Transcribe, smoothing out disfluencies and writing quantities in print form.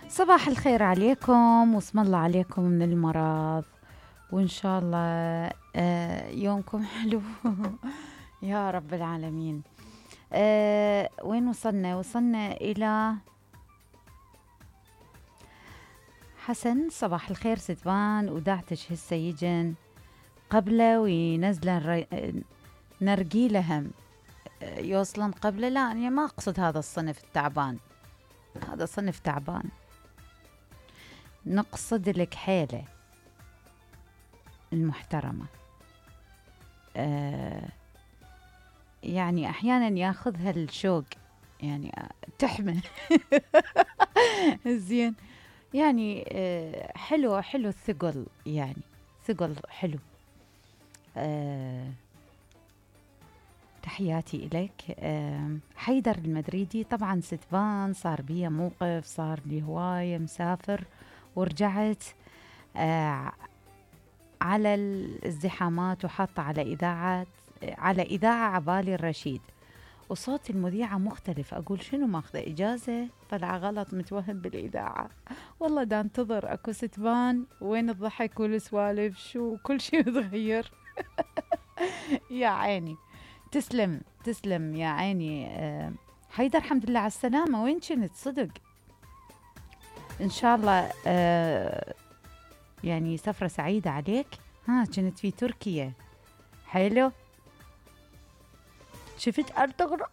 صباح الخير عليكم واسم الله عليكم من المرض. وإن شاء الله يومكم حلو. يا رب العالمين. وين وصلنا إلى حسن. صباح الخير ستبان وداعتش هسه يجن قبله وينزلن نرجيلهم يوصلن قبله. لا أنا ما أقصد هذا الصنف التعبان، هذا صنف تعبان. نقصد الكحيلة المحترمة. يعني أحيانا ياخذها الشوق، يعني تحمل. زين يعني حلو الثقل، يعني ثقل حلو. تحياتي إليك. حيدر المدريدي. طبعا ستبان صار بيه موقف، صار لي هواية مسافر ورجعت على الازدحامات وحاطة على إذاعة عبالي الرشيد، وصوت المذيعة مختلف. أقول شنو ماخذة إجازة؟ طلع غلط، متوهم بالإذاعة. والله دا انتظر أكو ستبان وين الضحك والسوالف، شو كل شيء متغير. يا عيني، تسلم يا عيني. حيدر الحمد لله على السلامة. وين كنت صدق؟ إن شاء الله يعني سفرة سعيدة عليك. كنت في تركيا. حلو. شفت أردغرة